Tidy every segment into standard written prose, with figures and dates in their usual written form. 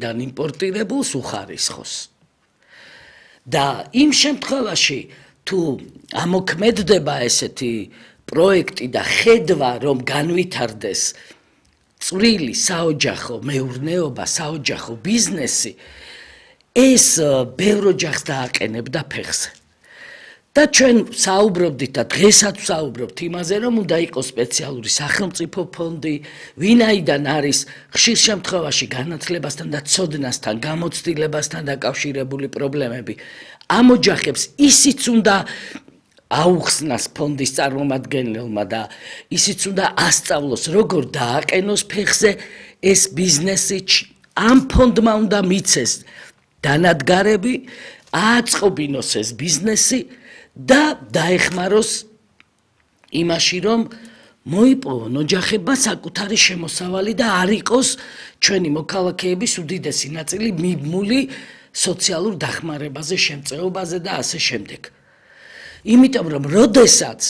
და იმპორტირებულს უხარისხოს. და იმ შემთხვევაში თუ ამოქმედდება ესეთი პროექტი და ხედვა რომ განვითარდეს წვრილი საოჯახო მეურნეობა, საოჯახო ბიზნესი, ეს ბევრ ოჯახს დააყენებდა ფეხზე. და ჩვენ საუბრობდით და დღესაც ვსაუბრობთ იმაზე, რომ უნდა იყოს სპეციალური სახელმწიფო ფონდი, ვინაიდან არის ხშირ შემთხვევაში განათლებასთან და ცოდნასთან, გამოცდილებასთან დაკავშირებული პრობლემები. ამ ოჯახებს ისიც უნდა აუხსნას ფონდის წარმომადგენელმა და ისიც უნდა ასწავლოს, როგორ დააყენოს ფეხზე ეს ბიზნესი, ამ ფონდმა უნდა მიცეს დანადგარები, ააწყობინოს ეს ბიზნესი და დაეხმაროს იმაში, რომ მოიპოვონ ოჯახებმა საკუთარი შემოსავალი და არ იყოს ჩვენი მოქალაქეების უდიდესი ნაწილი მიბმული სოციალურ დახმარებაზე, შემწეობაზე და ასე შემდეგ. იმიტომ რომ როდესაც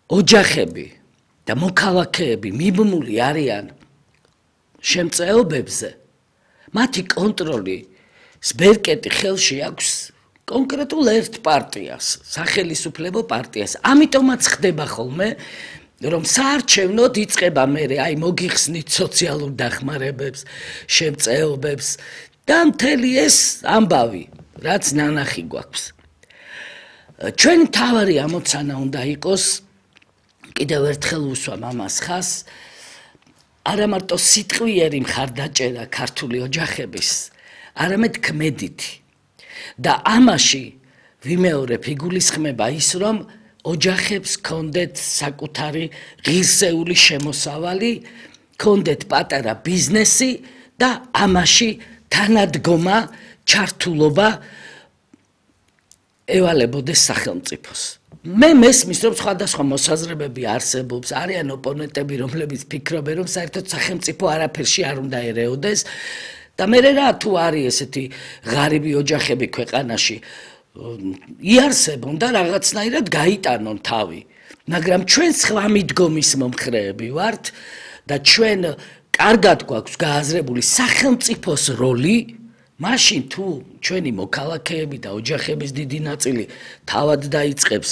ოჯახები და მოქალაქეები მიბმული არიან შემწეობებზე, მათი კონტროლი სბერკეტი ხელში აქვს კონკრეტულ ერთ პარტიას, სახელისუფლებო პარტიას. ამიტომაც ხდება ხოლმე, რომ საარჩევნოდ იწყება მერე აი მოგიხსნით სოციალურ დახმარებებს, შემწეობებს და მთელი ეს ამბავი, რაც ნანახი გვაქვს. ჩვენი მთავარი ამოცანა უნდა იყოს, კიდევ ერთხელ ვუსვამ ამას ხაზს, არა მარტო სიტყვიერი მხარდაჭერა ქართული ოჯახების, არამედ ქმედითი. და ამაში ვიმეორებ იგულისხმება ის, რომ ოჯახებს ჰქონდეთ საკუთარი ღირსეული შემოსავალი, ჰქონდეთ პატარა ბიზნესი და ამაში თანადგომა, ჩართულობა ევალებოდეს სახელმწიფოს. მე მესმის, რომ სხვადასხვა მოსაზრებები არსებობს, არიან ოპონენტები, რომლებიც ფიქრობენ, რომ საერთოდ სახელმწიფო არაფერში არ უნდა ერეოდეს და მე რა თუ არის ესეთი ღარიბი ოჯახები ქვეყანაში, იარსებონ და რაღაცნაირად გაიტანონ თავი. მაგრამ ჩვენ სხვა მიდგომის მომხრეები ვართ და ჩვენ კარგად გვაქვს გააზრებული სახელმწიფოს როლი, მაშინ თუ ჩვენი მოქალაქეები და ოჯახების დიდი ნაწილი თავად დაიწყებს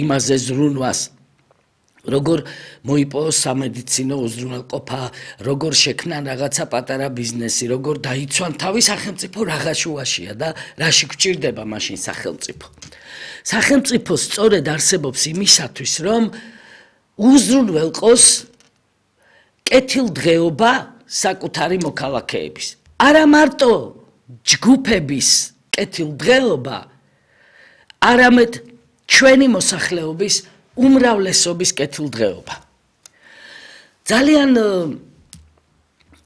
იმაზე ზრუნვას, როგორ მოიპოვოს სამედიცინო უზრუნველყოფა, როგორ შექმნან რაღაცა პატარა ბიზნესი, როგორ დაიცვან თავი სახელმწიფო რაღა შუაშია და რაში გვჭირდება მაშინ სახელმწიფო. სახელმწიფო სწორედ არსებობს იმისათვის, რომ უზრუნველყოს კეთილდღეობა საკუთარი მოქალაქეების. არა მარტო ჯგუფების კეთილდღეობა, არამედ ჩვენი მოსახლეობის უმრავლესობის კეთილდღეობა. ძალიან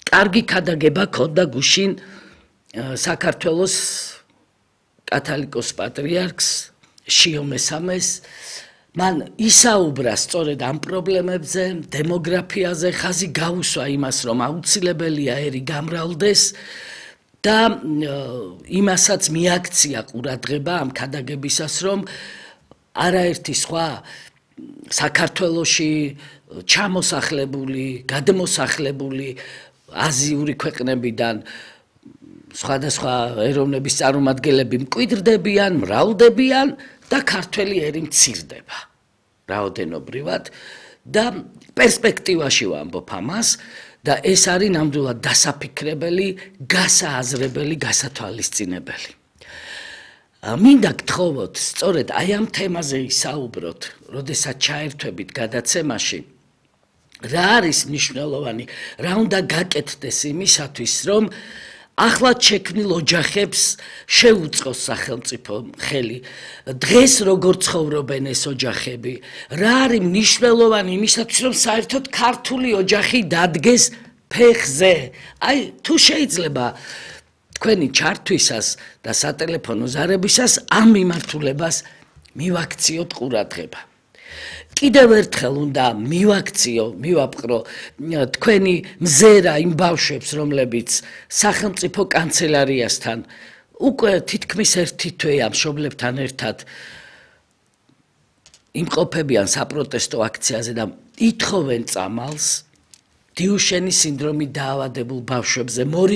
კარგი ქადაგება ქონდა გუშინ საქართველოს კათალიკოს პატრიარქს შიო მესამეს, მან ისაუბრა სწორედ ამ პრობლემებზე, დემოგრაფიაზე, ხაზი გაუსვა იმას, რომ აუცილებელია ერი გამრავლდეს და იმასაც მიაქცია ყურადღება ამ ქადაგებისას, რომ არაერთი სხვა საქართველოში ჩამოსახლებული, გადმოსახლებული აზიური ქვეყნებიდან სხვადასხვა ეროვნების წარმომადგენლები მკვიდრდებიან, მრავლდებიან და ქართველი ერი მცირდება რაოდენობრივად და პერსპექტივაში ვამბობ ამას და ეს არის ნამდვილად დასაფიქრებელი, გასააზრებელი, გასათვალისწინებელი. მინდა გთხოვოთ სწორედ აი ამ თემაზე ისაუბროთ, როდესაც ჩაერთვებით გადაცემაში, რა არის მნიშვნელოვანი, რა უნდა გაკეთდეს იმისათვის, რომ ახლად შექმნილ ოჯახებს შეუწყოს სახელმწიფო ხელი. დღეს როგორ ცხოვრობენ ეს ოჯახები, რა არის მნიშვნელოვანი იმისათვის, რომ საერთოდ ქართული ოჯახი დადგეს ფეხზე. აი, თუ შეიძლება თქვენი ჩართვისას და სატელეფონო ზარებისას ამ მიმართულებას მივაქციოთ ყურადღება. კიდევ ერთხელ უნდა მივაპყრო თქვენი მზერა იმ ბავშვებს, რომლებიც სახელმწიფო კანცელარიასთან უკვე თითქმის ერთი თვეა მშობლებთან ერთად იმყოფებიან საპროტესტო აქციაზე და ითხოვენ წამალს დიუშენის სინდრომით დაავადებულ ბავშვებზე.